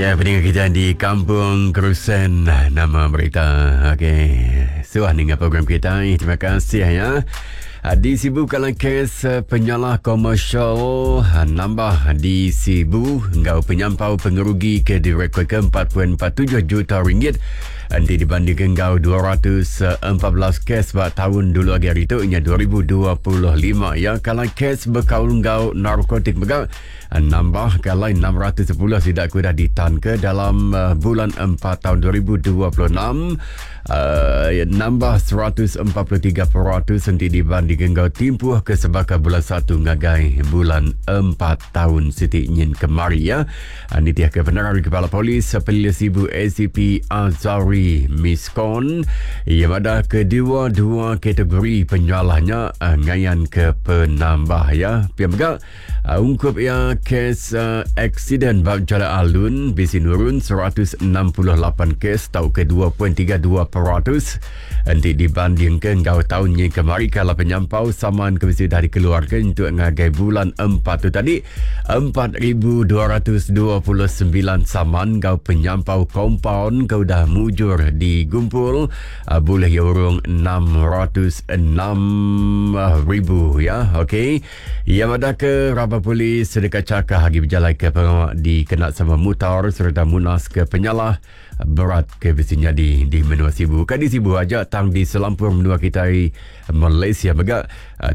Ya, peninga kita di Kampung Kerusen nama berita. Okey, suah ninga program kita. Terima kasih ya. Ah, di Sibu kalau kes eh, penyalah komersial ah, nambah di Sibu enggau penyampau pengerugi ke direkod ke 4.47 juta ringgit enti dibandingkan enggau 214 kes ba tahun dulu agi hari tu nya 2025 ya. Kalau kes bekaul enggau narkotik mega Nambah ke alai 610 sida ke udah ditanka dalam uh, bulan 4 tahun 2026 uh, nambah 143% enti dibanding enggau timpuh ke sebaka bulan 1 ngagai bulan 4 tahun siti nyin kemari ya. Uh, nitih ke penerang Kepala Polis Pelilih Sibu ACP Azari Miskon ia madah kedua-dua kategori penyalahnya uh, ngayan ke penambah ya. Pia mega Ungkup iya kes aksiden ba Jalai Alun bisi nurun 168 kes tauka 2.32% enti dibandingka enggau taun nyin kemari kala penyampau saman ke bisi udah dikeluarka nyentuk ngagai bulan empat tu tadi 4229 saman enggau penyampau kompaun ke udah mujur digumpul bulih iya urung 606 ribu ya okey. Iya madahka raban polis deka chakah agi bejalaika pengawa dikena sama mutar sereta munaska penyalah berat ke bisi nyadi di menua Sibu. Ukai di Sibu aja tang di selampur menua kitai Malaysia mega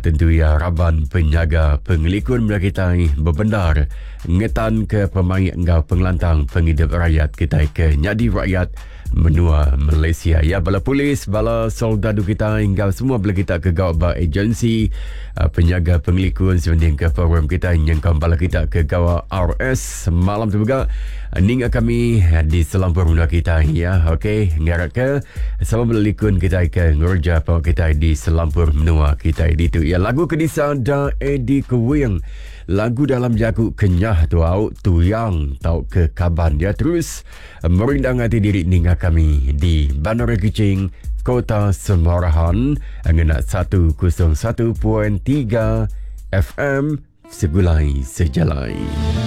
tentu iya raban penyaga pengelikun menua kitai bebendar ngetanka pemaik enggau pengelantang pengidup rayat kitai ke nyadi rakyat menua Malaysia. Ya bala polis, bala soldadu kita enggau semua bala kita ke gawa ba agensi uh, penyaga pengelikun sebanding ke program kita nyengkaum bala kita ke gawa RS malam tu juga uh, ninga kami uh, di selampur menua kita ya. Okey, ngarap ke sama bala likun kita ke ngereja pengawa kita di selampur menua kita ditu. Ya lagu ke disada Eddie Kewing lagu dalam jaku Kenyah tu au tuyang tauka kaban dia terus Merindang ati diri ninga kami di Bandar Kuching, Kota Semarahan ngena 101.3 FM Segulai Sejalai.